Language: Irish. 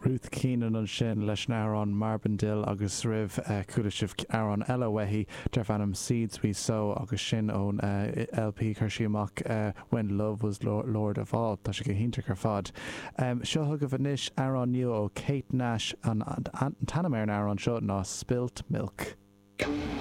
Ruth Keenan ansin leis an amhrán Marbendil agus roimh chuala sibh amhrán eile uaithi darb ainm Seeds We Sow agus sin ón LP chuir sí amach When Love Was Lord of All. Tá sé go hiontach ar fad. Seo chugaibh anois amhrán nua ó Kate Nash. An t-ainm ar an amhrán seo ná Spilt Milk.